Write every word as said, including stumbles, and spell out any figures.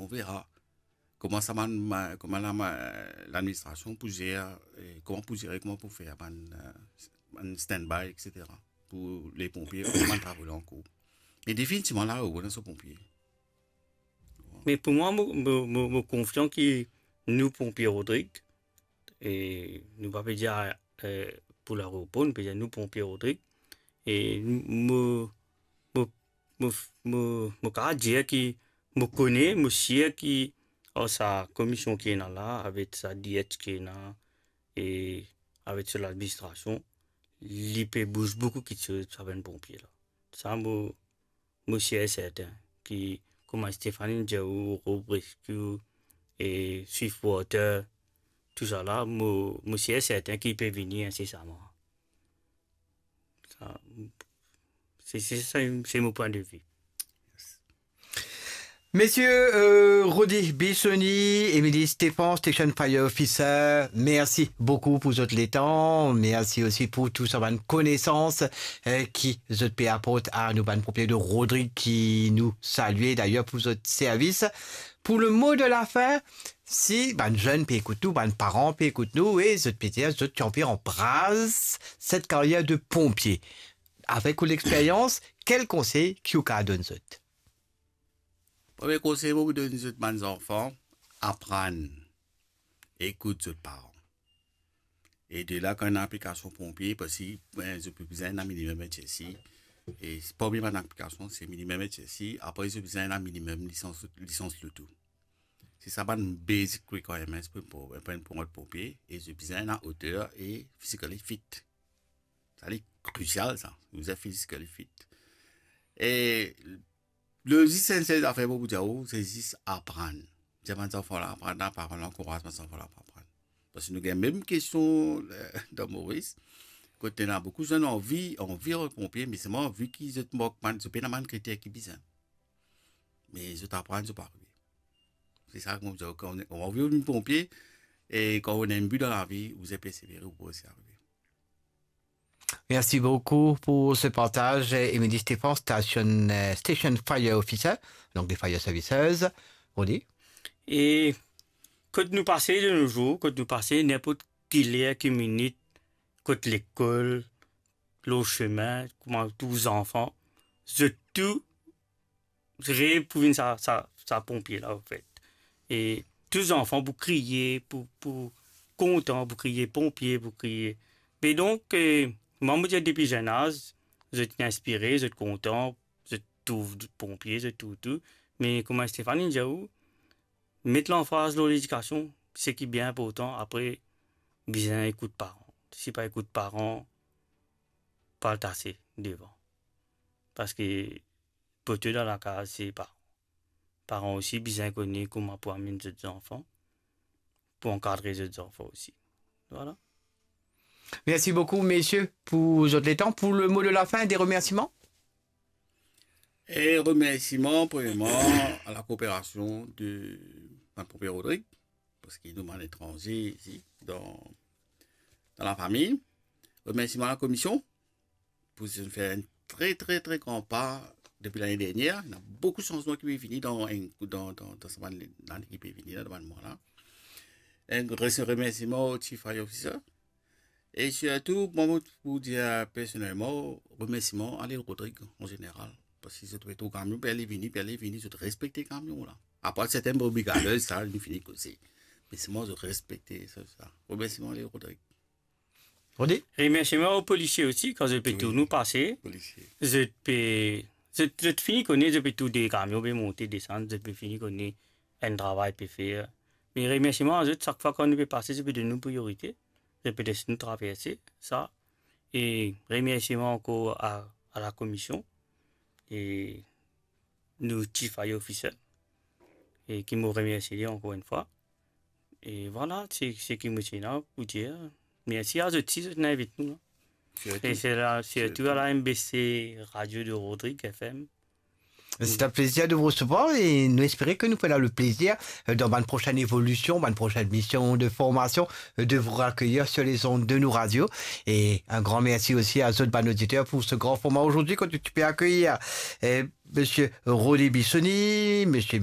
On verra kouma sa bann, ma-, kouma la, ma-, ladministrasion pou zer, eh, kouma pou zer, kouma pou fer bann, eh, bann standby, et cetera. Pou leponpie, kouma bann travo la ankour. Me definitivman, la, ou ena so ponpie. Me pou mwa, mo, mo, mo, mo konfian ki nou ponpie Rodrig, e nou pa pe dir, eh, pou larepo, nou pe dir nou ponpie Rodrig. E mo, mo, mo, mo, mo kapav dir ki mo kone, mo sir ki ar sa komisyon ki ena la, avek sa D H ki ena, e avek so ladministrasion, li pe bouz boukou kiksoz pou sa bann ponpie la. Sa mo, mo sir e serten ki kouma Stéphanie dir ou, Rob Rescue e Swift Water, tousala, mo, mo sir e serten ki pe vini insesaman. Sa, se, se, se, se mo pwin de vi. Mesie, euh, Rody Bissoni, Émilie Stéphane, Station Fire Officer, mersi boukou pou zot letan. Mersi osi pou tou sa bann konesans, eh, ki zot pe aport a nou bann ponpie de Rodrig ki nou salie dayer pou zot servis. Pou le mo de la fin, si bann zenn pe ekout nou, bann paran pe ekout nou, e zot pe dir zot ti anvi anbras set karyer de ponpie. Avek ou lexperyans, kel konsey ki ou kapav donn zot? Premie konsey mo pou donn zot bann zanfan, aprann ekout zot paran. E de la, kan ena aplikasion ponpie, parski, ben, zot pe bizin ena minimem H S I. E premie bann aplikasion, se minimem H S I. Apre, zot bizin ena minimem lisans, lisans loto. Se sa bann basic requirements pou, pou, pou, pou enn ponpie. E zot bizin ena oter e physically fit. Sa li krisial, sa. Ou bizin physically fit. E le zis enn sel zafer mo pou dir ou, se zis aprann. Dir bann zanfan la aprann, aprann, ankouraz bann zanfan la pou aprann. Parski nou gagn mem kestion, eh, dan Moris, kot ena boukou zenn anvi, anvi vinn ponpie, me selman vi ki zot mank bann, zot pena bann kriter ki bizin. Me zot aprann, zot pa arive. Se sa ki mo dir, kan ou anvi vinn ponpie, e kan ou ena enn bi dan lavi, ou bizin persevere, ou pou resi arive. Merci beaucoup pour ce partage, Émilie Stéphane, station, euh, Station Fire Officer, donc des Fire Services. Rody? E kot nou pase de nos jours, kot nou pase, ninport ki ler, ki minit, kot lekol, lor sime, kouma tou zanfan, zot tou rev pou vinn sa, sa, sa ponpie la, anfet. E tou zanfan pou kriye, pou, pou kontan, pou kriye ponpie, pou kriye. Me donk, eh, mwa, mo dir depi zenn az, zot inspire, zot kontan, zot trouv ponpie, zot trouv tou. Me kouma Stéphanie dir ou, met lanfaz lor ledikasion, seki bien inportan, apre, bizin ekout paran. Si pa ekout paran, pa al tase devan. Parski pote dan lakaz, se paran. Paran osi bizin kone kouma pou amenn zot zanfan, pou ankadre zot zanfan osi. Vwala. Merci beaucoup, messieurs, pour votre temps. Pour le mot de la fin, des remerciements? E remersiman, premierman, a la kooperasion de bann ponpie Rodrig, parski nou bann etranze isi, dan, dan lafami. Remersiman a la komision, pou zot fer enn tre, tre, tre gran pa depi lane dernier. Ena boukou sanzman ki pe vini dan enn, dan, dan, dan sa bann lane ki pe vini la, dan bann mwa la. Enn gro remersiman o Chief Fire Officer. E sirtou, mwa, mo pou dir personelman, remersiman a Lil Rodrig an zeneral. Parski zot pe trouv kamion, pe ale vini, pe ale vini, zot respekte kamion la. Apar sertin brebis galez, sa, nou fini koze. Me selman zot respekte sa, sa. Remersiman a Lil Rodrig. Rody? Remersiman o polisie osi, kan zot pe tou nou pase. Polisie. Zot pe, zot, zot fini kone, zot pe tou de kamion, pe monte, desann, zot pe fini kone enn travay pe fer. Me remersiman a zot, sak fwa kan nou pe pase, zot pe donn nou priyorite. Zot pe les nou traverse, sa. E remersiman ankor a, a la komision. E nou Chief Fire Officer, e ki mo remersie li ankor enn fwa. E vwala, se, seki mo ti ena pou dir. Mersi a zot si zot inn invit nou la. Sirtou. E se la, sirtou a la M B C Radio de Rodrig F M. C'est un plaisir de vous recevoir et nous espérons que nous ferons le plaisir, euh, dans une prochaine évolution, une prochaine mission de formation, euh, de vous accueillir sur les ondes de nos radios. Et un grand merci aussi à zot bann auditeur pour ce grand format aujourd'hui, quand tu peux accueillir, euh, Monsieur Rody Bissoni, Monsieur